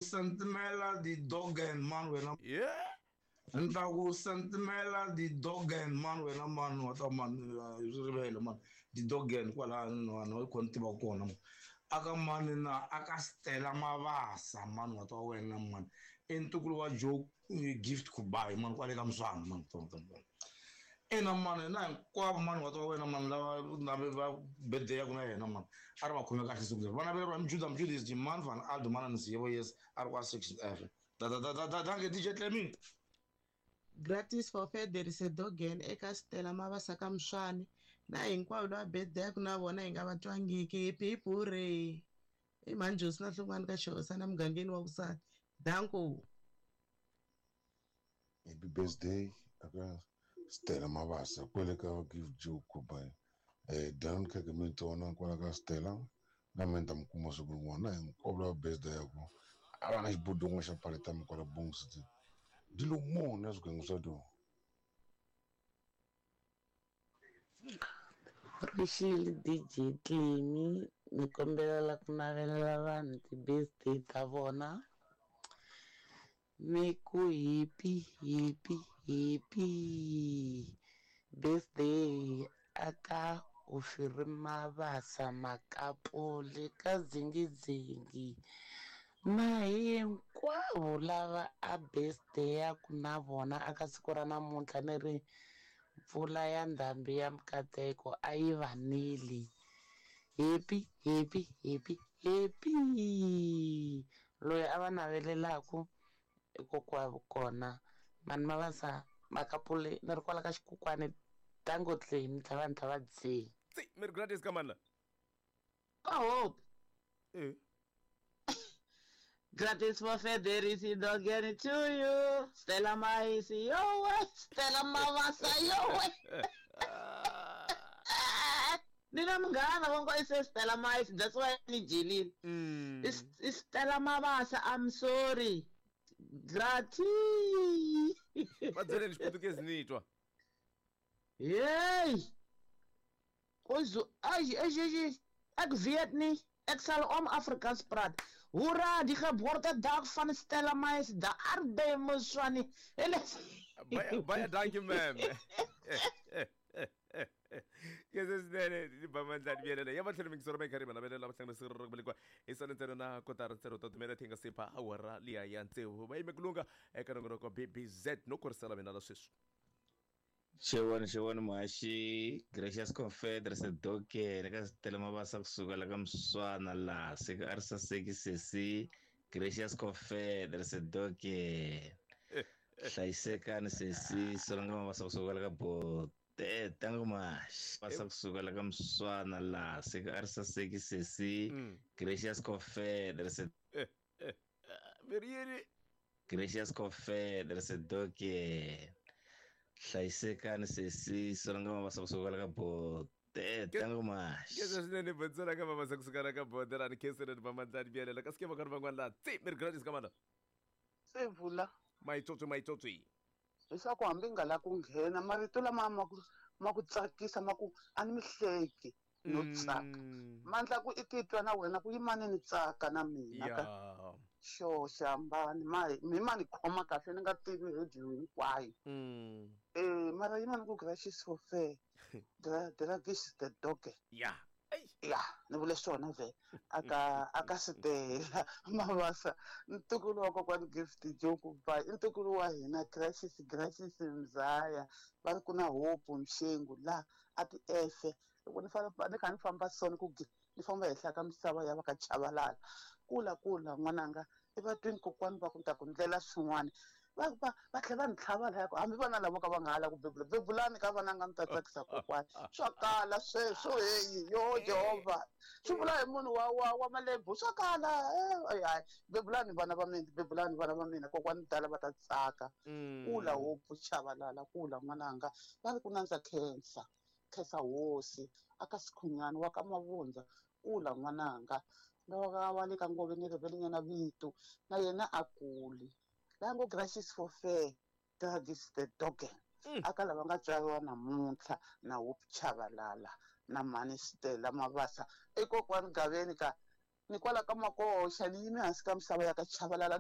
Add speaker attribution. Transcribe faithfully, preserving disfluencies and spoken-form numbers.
Speaker 1: Sentimela di dogen man wena.
Speaker 2: Yeah.
Speaker 1: Ntaku sentimela di dogen man wena man wa ta man rivele man di dogen kwala no no kon tiva kona aka man na aka Stella Mavasa man wa ta wena man entukulu wa joke gift ku buy man kwale ka mswana man ton ton ena man na hinkwavo man wa ta wena man lava na va birthday ya ku na yena man a ri va khome kahle siku leri vana va Mjuda Mjuda is the man van Aldo man and Sibo yes a ri kwa six F da da da da da danke D J Clemi.
Speaker 3: Gratis for fair there is a dogen eka Stella Mavasa ka Mswani na hinkwavo lava birthday ya ku na vona hi nga va twangiki hipi hurray i manjosi na hlongwani ka xihosana mugangeni wa vusati danko.
Speaker 4: Happy birthday aka Stella Mavasa kwele ka give joke kubai eh dan ka ke mintona kwala ka Stella na menta mkuma siku rin'wana hinkwavo lava birthday ya ku a va na xibodongo xa paleta mi kwala Bongsi di lo mona swigango swa tona.
Speaker 5: Rixile D J Clemi ni kombela ku navelela vanhu ti-birthday ta vona ni ku happy happy happy birthday aka Ofiri Mavasa Makapole ka Dzingidzingi na hinkwavo lava a birthday ya ku na vona aka siku ra namuntlha ni ri mpfula ya ndhambi ya mikateko a yi vanili. Happy happy happy happy loyi a va navelelaku i kokwavo kona mani Mavasa Makapole ni ri kwala ka xikukwani tango Clemi tlhava ni tlhava dzi
Speaker 2: tsi mi ri gratis ka mani la
Speaker 6: ka hope
Speaker 2: eh
Speaker 6: Gratis for Federici dogen to you. Stella Maisi yo way. Stella Mavasa yo way. Nina munghana va ngo i se Stella Maisi that's why ni jilile.
Speaker 2: Mm.
Speaker 6: It's, it's Stella Mavasa I'm sorry. Gratis.
Speaker 2: Va byeleni xiputukezi ni twa.
Speaker 6: Hey. Ozo ai ai ai ek weet nie. Ek sal om Afrikaans praat. Hoera, die geboortedag van Stella Maisi, daar by Moswane.
Speaker 2: Baie baie dankie ma'am. Yes swinene ni ba mandlani byelela ya matlhelo mingisoro ma karhi mana belela matlhelo sirro ku belekwa hi sona ntsena na kotara ntsena to timela thinga sipa awara liya ya ntsevu va yime ku lunga eka nongonoko B B Z no korisela mina la sweswi.
Speaker 7: Xewani xewani muhaxi Gracious Confederacy Doken ka Stella Mavasa kusuka la ka Mswana laha se a ri saseki sesi Gracious Confederacy Doken hlayisekani sesi Solanga Mavasa kusuka la ka Bote tango muhaxi Mavasa kusuka la ka Mswana laha se a ri saseki sesi Gracious Confederacy
Speaker 2: Veriyeni
Speaker 7: Gracious Confederacy Doken hlayisekani sesi Solanga Mavasa kusuka la ka Bote tango muhaxi.
Speaker 2: Kesa swinene Botswana ka Mavasa kusuka la ka Bote rani khenseleni va mandlani byelela kasi ke va karhi van'wana laha tsi mi ri gratis ka mana
Speaker 8: se vula
Speaker 2: maitsotsi maitsotsi
Speaker 8: leswaku hambi nga la ku nghena marito lama ma ku ma ku tsakisa ma ku a ni mi hleki no tsaka mandla ku i titwa na wena ku yimani ni tsaka na mina ka xo xihambani ma mi ma ni khoma kahle ni nga tivi radio hinkwayo eh mara yimani ku gracious for fair dragis the dog
Speaker 2: ya
Speaker 8: ya ni vule swona ve aka aka Stella Mavasa ntukulu wa kokwani Gift Joku ba ntukulu wa hina Gracious Gracious Mzaya va ri ku na Hope Mshengu la a ti efe loko ni famba ni kha ni famba sona ku ni famba henhla ka misava ya va ka Chabalala kula kula n'wananga i va twini kokwani va ku ta ku ndlela swin'wana va va va tlhela va ni tlhava laya ku hambi vana lavo ka va nga hala ku bebula bebulani ka vananga mi ta tsakisa kokwani swa kala sweswo heyi yo Jehovha swi vula hi munhu wa wa wa malebvu swa kala hayi bebulani vana va mina bebulani vana va mina kokwani tala va ta tsaka kula Hope Chabalala kula n'wananga va ri ku nandza khensa khensa hosi aka Sikhunyani wa ka Mavundza kula n'wananga lowa wa le ka Ngove ni rivelenyana vito na yena a kuli lango Gracious for fair dragis the dogen aka lava nga tswariwa namuntlha na Hope Chabalala na mhani Stella Mavasa i kokwani Gaveni ka Ni kwala ka Makoxa ni yime hansi ka misava ya ka Chavalala.